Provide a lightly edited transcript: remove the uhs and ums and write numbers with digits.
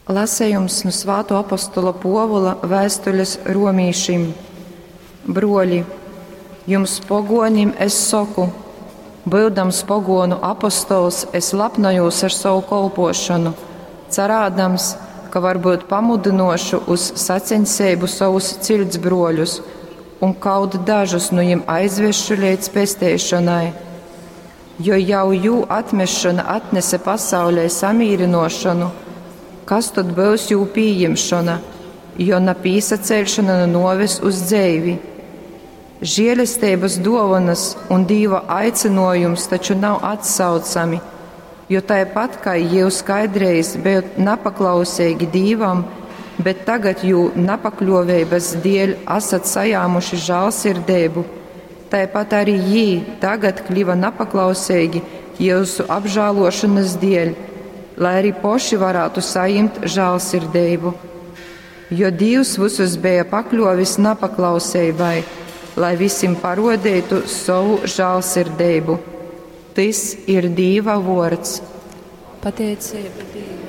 Lasejums nu Svātuo apostola Puovula vēstules romīšim. Bruoļi, jums poguonim es soku, byudams poguonu apostols, es lapnojūs ar sovu kolpuošonu, carādams, ka varbyut pamudynuošu uz saceņseibu sovus ciļtsbruoļus un kaut dažus nu jim aizvesšu leidz pesteišonai. Jo jau jū atmešona atnese pasaulē samīrynuošonu, kas tod byus jū pījimšona, jo na pīsaceļšona nu nuoves uz dzeivi? Žielesteibys duovonys un Dīva aicynuojums taču nav atsaucami, jo taipat kai jius kaidreiz bejot napaklauseigi Dīvam, bet tagad jū napakļuoveibys dieļ asat sajāmuši žālsirdeibu, taipat arī jī tagad kliva napaklauseigi jiusu apžāluošonys dieļ, lai arī poši varātu sajimt žālsirdeibu. Jo Dīvs vysus beja pakļuovis napaklauseibai, lai vysim paruodeitu sovu žālsirdeibu. Tys ir Dīva vuords. Pateiceiba Dīvam.